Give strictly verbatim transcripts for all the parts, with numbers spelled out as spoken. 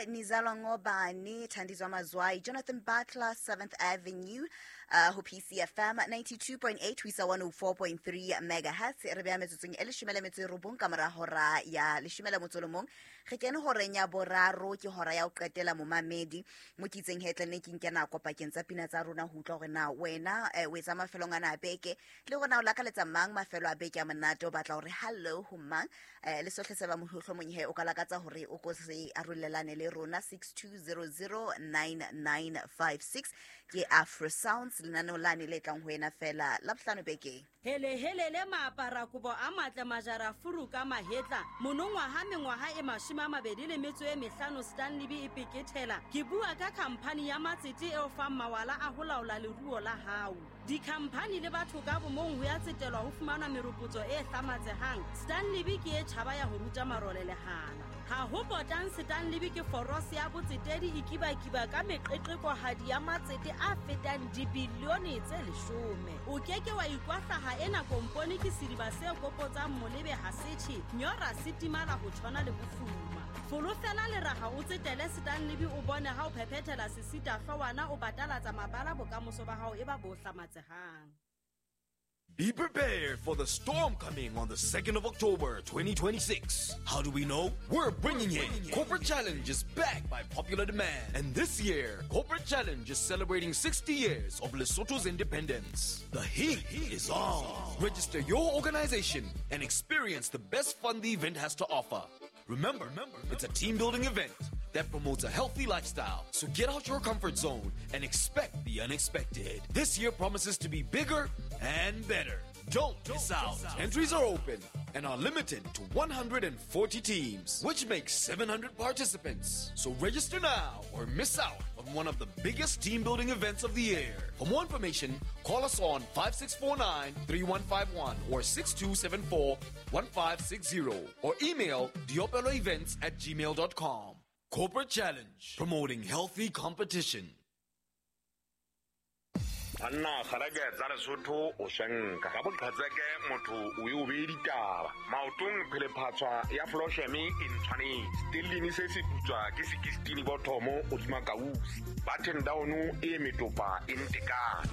Nizalwa Ngobani, Thandizwa Mazwai, Jonathan Butler, seventh Avenue, uh, ho P C F M ninety-two point eight, ho isa one oh four point three megahertz. Re beha metsotsong e leshome le metso e robong ka mora hora ya leshome le motso o le mong. Re kene horeng ya boraro, ke hora ya ho qetela momamedi. Mo ke itseng he tla nne ke nke nako pakeng tsa pina tsa rona ho utlwa hore na wena, eh, o etsa mafelong ana a beke, le hore na o lakaletsa mang mafelo a beke a monate, o batla hore hello ho mang, eh, le sohle se ba mohlomong he o ka lakatsa hore o ko se arolelane le rona. Six two zero zero nine nine five six ke Afro Sounds, lenaneo lane le tlang ho wena fela Labohlano bekeng. Hele hele le maapara kobo a matle majara furu ka mahetla monongwaha mengwaha e mashome a mabedi le metso e mehlano Stanley B e pekethela. Ke bua ka khamphani ya matsete eo fang mawala a ho laola leruo la hao. Dikhamphani le batho ka bomong ho ya tsetelwa ho fumana meropotso e hlamatsehang. Stanley B ke e tjhaba ya ho ruta marole lehana. Ha ho potang Stanley B ke forose ya botsetedi e kibakiba ka meqeqekohadi ya matsete a fetang dibilione tse leshome. O keke wa ikwahlaha ena kompone ke sediba se kopotsang molebe ha setjhe, nyora se timala ho tshwana le bofuma. Folofela leraha o tsetele Stanley B o bone ha o phephethela sesita hloohwana o batalatsa mabala bokamoso ba hao e ba bo hlamatsehang. Be prepared for the storm coming on the second of October, twenty twenty-six. How do we know? We're bringing it. Corporate Challenge is back by popular demand. And this year, Corporate Challenge is celebrating sixty years of Lesotho's independence. The heat is on. Register your organization and experience the best fun the event has to offer. Remember, it's a team-building event that promotes a healthy lifestyle. So get out your comfort zone and expect the unexpected. This year promises to be bigger and better. Don't miss out. Entries are open and are limited to one hundred forty teams, which makes seven hundred participants. So register now or miss out on one of the biggest team-building events of the year. For more information, call us on five six four nine, three one five one or six two seven four, one five six zero or email diopelo events at gmail dot com. Corporate Challenge, promoting healthy competition. Banna kgareke tsa Lesotho o shenka ka boqhetseke motho o e o bee ditaba maotong phelephatswa ya flosheme e ntshwanetse stellini se se putswa ke sixteen bothomo o dima kausi button down e metopa e ntekane.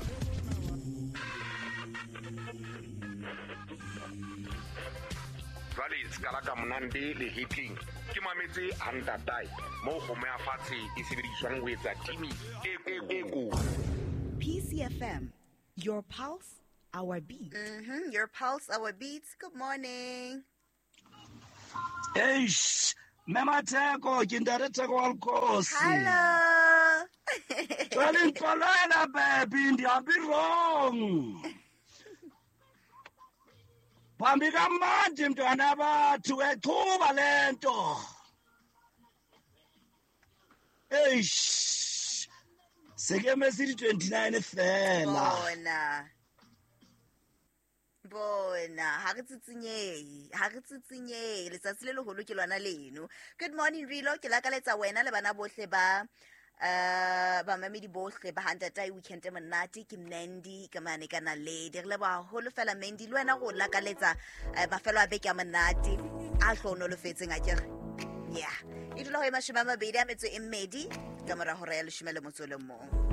Jwale skala ka monande le hitling ke mametse hantatai mo kgomo ya fatshe e sebediswang ho etsa timi e e ko. P C F M, your pulse, our beat. Mm-hmm, your pulse, our beats. Good morning. Eish, Mema Theko, ke ntate Theko wa Lkosi. Hello. Jwale ntlwalela baby, ndihambi wrong. Phambi kamanje mntwana bathu echuba lento. Eish. Sekeme sithi twenty-nine fela. Bona. Bona, ha re tsitsinyehe, ha re tsitsinyehe, letsatsi le leholo ke lona leno. Good morning Rilo, ke lakaletsa wena le bana bohle ba uh bamamedi bohle ba hantatai weekend e monate. Ke Mandy ka mane ka Naledi. Re leboha haholo fela Mandy, le wena go lakaletsa mafelo a beke a monate a hlohonolofetseng akere. Yeah. E dula ho e mashome a mabedi a metso e mmedi ka mora hora ya leshome le motso o le mong.